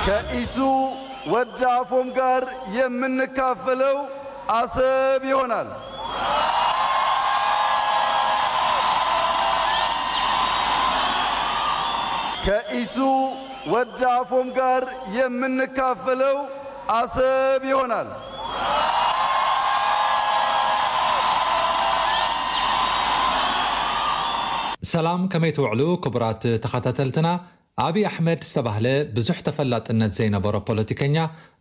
ከኢሱ ወዲ ኣፎም ጋር የምንካፈለው አሰብ ይሆናል። ከኢሱ ወዲ ኣፎም ጋር የምንካፈለው አሰብ ይሆናል። ሰላም፣ ከመይ ትውዕሉ ክቡራት ተኸታተልትና? ኣብይ ኣሕመድ ዝተባህለ ብዙሕ ተፈላጥነት ዘይነበሮ ፖለቲከኛ፣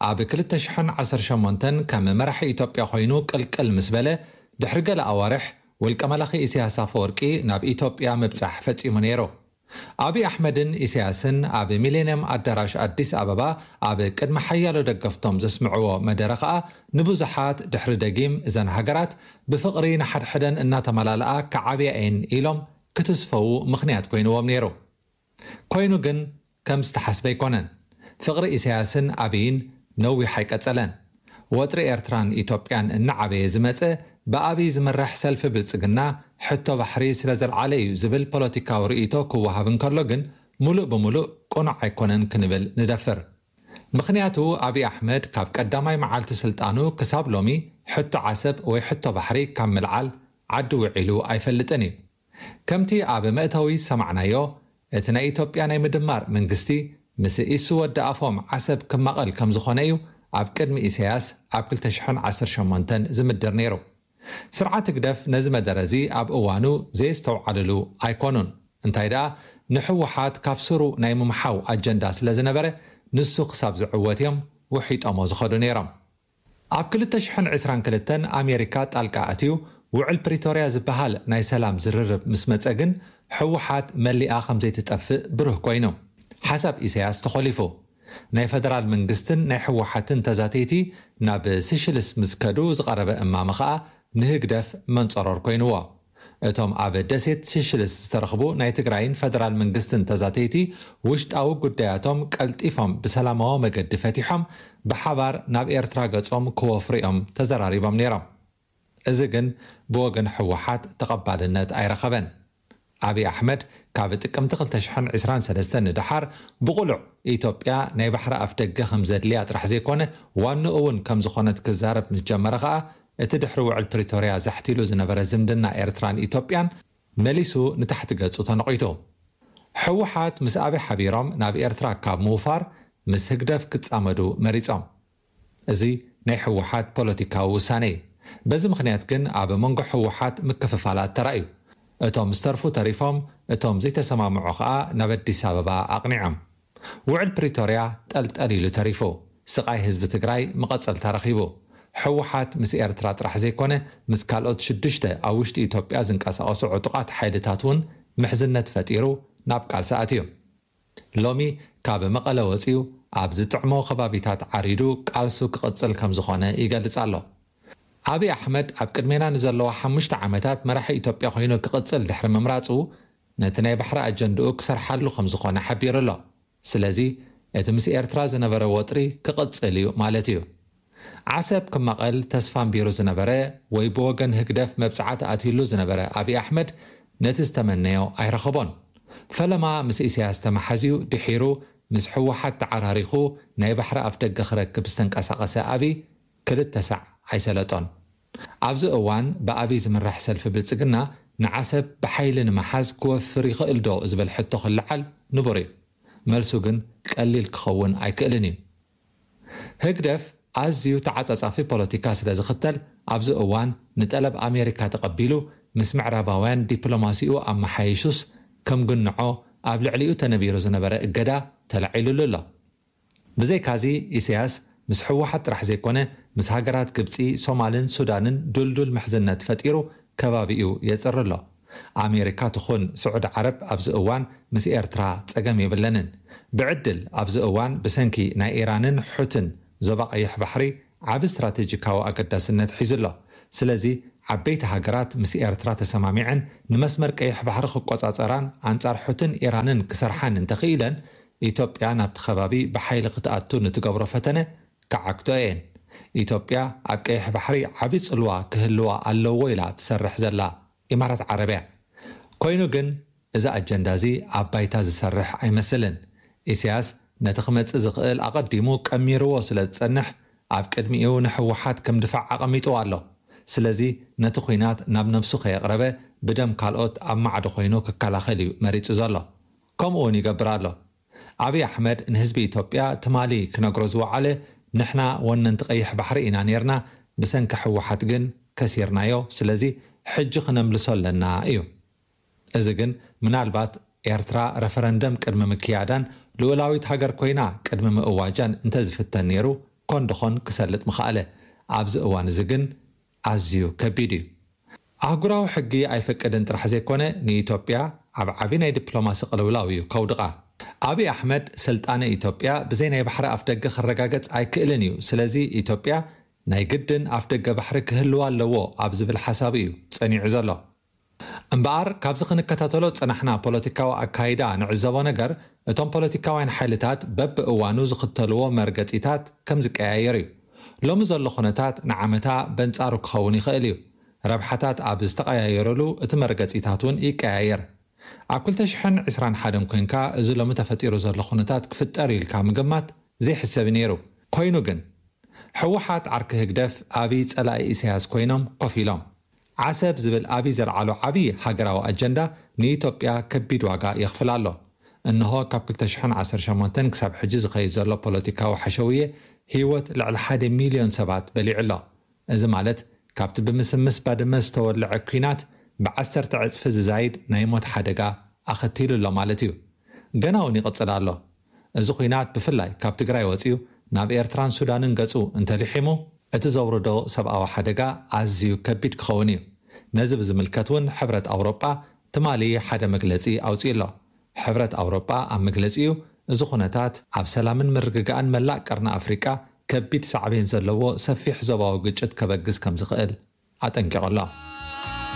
ኣብ ክልተ ሽሕን ዓሰርተ ሸሞንተን ከም መራሒ ኢትዮጵያ ኮይኑ ቅልቅል ምስ በለ፣ ድሕሪ ገለ ኣዋርሕ ውልቀ መላኺ ኢሳያስ ኣፈወርቂ ናብ ኢትዮጵያ ምብጻሕ ፈጺሙ ነይሩ። ኣብይ ኣሕመድን ኢሳያስን ኣብ ሚሌንየም ኣዳራሽ ኣዲስ ኣበባ ኣብ ቅድሚ ሓያሎ ደገፍቶም ዘስምዕዎ መደረ ከኣ፣ ንብዙሓት ድሕሪ ደጊም እዘን ሃገራት ብፍቕሪ ንሓድሕደን እናተመላለኣ ክዓብያ እየን ኢሎም ክትስፈዉ ምኽንያት ኮይንዎም ነይሩ። ኮይኑ ግን ከም ዝተሓስበ ኣይኮነን። ፍቕሪ ኢሳያስን ኣብይን ነዊሕ ኣይቀጸለን። ወጥሪ ኤርትራን ኢትዮጵያን እናዓበየ ዝመጸ፣ ብኣብይ ዝምራሕ ሰልፊ ብልጽግና ሕቶ ባሕሪ ስለ ዘልዓለ እዩ ዝብል ፖለቲካዊ ርእይቶ ክወሃብ እንከሎ ግን፣ ሙሉእ ብሙሉእ ቅኑዕ ኣይኮነን ክንብል ንደፍር። ምኽንያቱ ኣብይ ኣሕመድ ካብ ቀዳማይ መዓልቲ ስልጣኑ ክሳብ ሎሚ ሕቶ ዓሰብ ወይ ሕቶ ባሕሪ ካብ ምልዓል ዓዲ ውዒሉ ኣይፈልጥን እዩ። ከምቲ ኣብ መእተዊ ዝሰማዕናዮ፣ እቲ ናይ ኢትዮጵያ ናይ ምድማር መንግስቲ ምስ ኢሱ ወዲ ኣፎም ዓሰብ ክማቐል ከም ዝኾነ እዩ ኣብ ቅድሚ ኢሳያስ ኣብ ክልተ ሽሕን ዓሰርተ ሸሞንተን ዝምድር ነይሩ። ስርዓት ህግደፍ ነዚ መደረ እዚ ኣብ እዋኑ ዘየስተውዓልሉ ኣይኮኑን። እንታይ ደኣ፣ ንህወሓት ካብ ስሩ ናይ ምምሓው ኣጀንዳ ስለ ዝነበረ፣ ንሱ ክሳብ ዝዕወት እዮም ውሒጦሞ ዝኸዱ ነይሮም። ኣብ ክልተ ሽሕን ዕስራን ክልተን ኣሜሪካ ጣልቃ ኣትዩ፣ ውዕል ፕሪቶርያ ዝበሃል ናይ ሰላም ዝርርብ ምስ መጸ ግን፣ ህወሓት መሊኣ ከም ዘይትጠፍእ ብሩህ ኮይኑ። ሓሳብ ኢሳያስ ተኾሊፉ። ናይ ፈደራል መንግስትን ናይ ህወሓትን ተዛተይቲ ናብ ስሽልስ ምስ ከዱ ዝቐረበ እማመ ኸኣ ንህግደፍ መንጸሮር ኮይንዎ። እቶም ኣብ ደሴት ስሽልስ ዝተረኽቡ ናይ ትግራይን ፈደራል መንግስትን ተዛተይቲ፣ ውሽጣዊ ጉዳያቶም ቀልጢፎም ብሰላማዊ መገዲ ፈቲሖም ብሓባር ናብ ኤርትራ ገጾም ክወፍሩ እዮም ተዘራሪቦም ነይሮም። እዚ ግን ብወገን ህወሓት ተቐባልነት ኣይረኸበን። ኣብይ ኣሕመድ ካብ ጥቅምቲ ክልተ ሽሕን ዕስራን ሰለስተን ንደሓር ብቕሉዕ ኢትዮጵያ ናይ ባሕሪ ኣፍ ደገ ከም ዘድልያ ጥራሕ ዘይኮነ፣ ዋንኡ እውን ከም ዝኾነት ክዛረብ ምስ ጀመረ ኸኣ፣ እቲ ድሕሪ ውዕል ፕሪቶርያ ዛሕቲሉ ዝነበረ ዝምድና ኤርትራን ኢትዮጵያን መሊሱ ንታሕቲ ገጹ ተነቒቱ። ህወሓት ምስ ኣብይ ሓቢሮም ናብ ኤርትራ ካብ ምውፋር፣ ምስ ህግደፍ ክጻመዱ መሪጾም። እዚ ናይ ህወሓት ፖለቲካዊ ውሳነ እዩ። በዚ ምኽንያት ግን ኣብ መንጎ ህወሓት ምክፍፋላት ተራእዩ። እቶም ዝተርፉ ተሪፎም፣ እቶም ዘይተሰማምዑ ኸኣ ናብ ኣዲስ ኣበባ ኣቕኒዖም። ውዕል ፕሪቶርያ ጠልጠል ኢሉ ተሪፉ። ስቓይ ህዝቢ ትግራይ መቐጸልታ ረኺቡ። ህወሓት ምስ ኤርትራ ጥራሕ ዘይኮነ፣ ምስ ካልኦት ሽዱሽተ ኣብ ውሽጢ ኢትዮጵያ ዝንቀሳቐሱ ዕጡቓት ሓይልታት እውን ምሕዝነት ፈጢሩ ናብ ቃልሲ ኣትዩ። ሎሚ ካብ መቐለ ወጺኡ ኣብ ዝጥዕሞ ከባቢታት ዓሪዱ ቃልሱ ክቕጽል ከም ዝኾነ ይገልጽ ኣሎ። ኣብይ ኣሕመድ ኣብ ቅድሜና ንዘለዋ ሓሙሽተ ዓመታት መራሒ ኢትዮጵያ ኮይኑ ክቕጽል ድሕሪ ምምራጹ፣ ነቲ ናይ ባሕሪ ኣጀንድኡ ክሰርሓሉ ከም ዝኾነ ሓቢሩ ኣሎ። ስለዚ እቲ ምስ ኤርትራ ዝነበረ ወጥሪ ክቕጽል እዩ ማለት እዩ። ዓሰብ ክማቐል ተስፋ ኣንቢሩ ዝነበረ ወይ ብወገን ህግደፍ መብጽዓ ተኣትዩሉ ዝነበረ ኣብይ ኣሕመድ ነቲ ዝተመነዮ ኣይረኸቦን። ፈለማ ምስ ኢሳያስ ተመሓዝዩ ድሒሩ ምስ ህወሓት ተዓራሪኹ ናይ ባሕሪ ኣፍ ደገ ክረክብ ዝተንቀሳቐሰ ኣብይ ክልተ ሳዕ ኣይሰለጦን። ኣብዚ እዋን ብኣብይ ዝምራሕ ሰልፊ ብልጽግና ንዓሰብ ብሓይሊ ንምሓዝ ክወፍር ይኽእል ዶ ዝብል ሕቶ ክለዓል ንቡር እዩ። መልሱ ግን ቀሊል ክኸውን ኣይክእልን እዩ። ህግደፍ ኣዝዩ ተዓጻጻፊ ፖለቲካ ስለ ዝኽተል፣ ኣብዚ እዋን ንጠለብ ኣሜሪካ ተቐቢሉ ምስ ምዕራባውያን ዲፕሎማሲኡ ኣመሓይሹስ ከም ግንዖ ኣብ ልዕሊኡ ተነቢሩ ዝነበረ እገዳ ተላዒሉሉ ኣሎ። ብዘይካዚ ኢሳያስ ምስ ህወሓት ጥራሕ ዘይኮነ ምስ ሃገራት ግብጺ፣ ሶማልን ሱዳንን ድልዱል ምሕዝነት ፈጢሩ ከባቢኡ የጽሪ ኣሎ። ኣሜሪካ ትኹን ስዑዲ ዓረብ ኣብዚ እዋን ምስ ኤርትራ ጸገም የብለንን። ብዕድል ኣብዚ እዋን ብሰንኪ ናይ ኢራንን ሑትን ዞባ ቀይሕ ባሕሪ ዓቢ ስትራቴጂካዊ ኣገዳስነት ሒዙ ኣሎ። ስለዚ ዓበይቲ ሃገራት ምስ ኤርትራ ተሰማሚዐን ንመስመር ቀይሕ ባሕሪ ክቆጻጸራን ኣንጻር ሑትን ኢራንን ክሰርሓን እንተኽኢለን፣ ኢትዮጵያ ናብቲ ከባቢ ብሓይሊ ክትኣቱ ንትገብሮ ፈተነ ክዓግቶ እየን። ኢትዮጵያ ኣብ ቀይሕ ባሕሪ ዓቢ ጽልዋ ክህልዋ ኣለዎ ኢላ ትሰርሕ ዘላ ኢማራት ዓረብ እያ። ኮይኑ ግን እዚ ኣጀንዳ እዚ ኣብ ባይታ ዝሰርሕ ኣይመስልን። ኢሳያስ ነቲ ክመጽእ ዝኽእል ኣቐዲሙ ቀሚርዎ ስለ ዝጸንሕ፣ ኣብ ቅድሚኡ ንህወሓት ከም ድፋዕ ኣቐሚጥዎ ኣሎ። ስለዚ ነቲ ኲናት ናብ ነብሱ ከየቕረበ፣ ብደም ካልኦት ኣብ ማዕዶ ኮይኑ ክከላኸል እዩ መሪጹ ዘሎ። ከምኡ እውን ይገብር ኣሎ። ኣብይ ኣሕመድ ንህዝቢ ኢትዮጵያ ትማሊ ክነግሮ ዝወዓለ፣ "ንሕና ወነንቲ ቀይሕ ባሕሪ ኢና ነይርና፣ ብሰንኪ ህወሓት ግን ከሲርናዮ፣ ስለዚ ሕጂ ክነምልሶ ኣለና" እዩ። እዚ ግን ምናልባት ኤርትራ ረፈረንደም ቅድሚ ምክያዳን ልኡላዊት ሃገር ኮይና ቅድሚ ምእዋጃን እንተዝፍተን ነይሩ፣ ኮን ደኾን ክሰልጥ ምኸኣለ። ኣብዚ እዋን እዚ ግን ኣዝዩ ከቢድ እዩ። ኣህጉራዊ ሕጊ ኣይፈቅድን ጥራሕ ዘይኮነ፣ ንኢትዮጵያ ኣብ ዓቢ ናይ ዲፕሎማሲ ቅልውላው እዩ ከውድቓ። ኣብይ ኣሕመድ ስልጣነ ኢትዮጵያ ብዘይ ናይ ባሕሪ ኣፍደገ ክረጋገጽ ኣይክእልን እዩ። ስለዚ ኢትዮጵያ ናይ ግድን ኣፍደገ ባሕሪ ክህልዋ ኣለዎ ኣብ ዝብል ሓሳብ እዩ ጸኒዑ ዘሎ። እምበኣር ካብዚ ክንከታተሎ ዝጸናሕና ፖለቲካዊ ኣካይዳ ንዕዘቦ ነገር፣ እቶም ፖለቲካውያን ሓይልታት በብእዋኑ ዝኽተልዎ መርገጺታት ከም ዝቀያየር እዩ። ሎሚ ዘሎ ኩነታት ንዓመታ በንጻሩ ክኸውን ይኽእል እዩ። ረብሓታት ኣብ ዝተቐያየረሉ እቲ መርገጺታት እውን ይቀያየር። ኣብ ክልተ ሽሕን ዕስራን ሓደን ኮይንካ እዚ ሎሚ ተፈጢሩ ዘሎ ኩነታት ክፍጠር ኢልካ ምግማት ዘይሕሰብ ነይሩ። ኮይኑ ግን፣ ህወሓት ዓርኪ ህግደፍ ኣብይ ጸላኢ ኢሳያስ ኮይኖም ኮፍ ኢሎም። ዓሰብ ዝብል ኣብይ ዘልዓሎ ዓብዪ ሃገራዊ ኣጀንዳ ንኢትዮጵያ ከቢድ ዋጋ የኽፍል ኣሎ። እንሆ ካብ ክልተ ሽሕን ዓሰርተ ሸሞንተን ክሳብ ሕጂ ዝኸይድ ዘሎ ፖለቲካዊ ሓሸውየ ህይወት ልዕሊ ሓደ ሚልዮን ሰባት በሊዑ ኣሎ። እዚ ማለት ካብቲ ብምስምስ ባድመ ዝተወልዐ ኲናት ብዓሰርተ ዕጽፊ ዝዛይድ ናይ ሞት ሓደጋ ኣኸቲሉ ኣሎ ማለት እዩ። ገና እውን ይቕጽል ኣሎ። እዚ ኲናት ብፍላይ ካብ ትግራይ ወጺኡ ናብ ኤርትራን ሱዳንን ገጹ እንተልሒሙ፣ እቲ ዘውርዶ ሰብኣዊ ሓደጋ ኣዝዩ ከቢድ ክኸውን እዩ። ነዚ ብዝምልከት እውን ሕብረት ኣውሮጳ ትማሊ ሓደ መግለጺ ኣውጺኡ ኣሎ። ሕብረት ኣውሮጳ ኣብ መግለጺኡ፣ እዚ ኩነታት ኣብ ሰላምን ምርግጋእን መላእ ቀርኒ ኣፍሪቃ ከቢድ ሳዕቤን ዘለዎ ሰፊሕ ዞባዊ ግጭት ከበግስ ከም ዝኽእል ኣጠንቂቑ ኣሎ።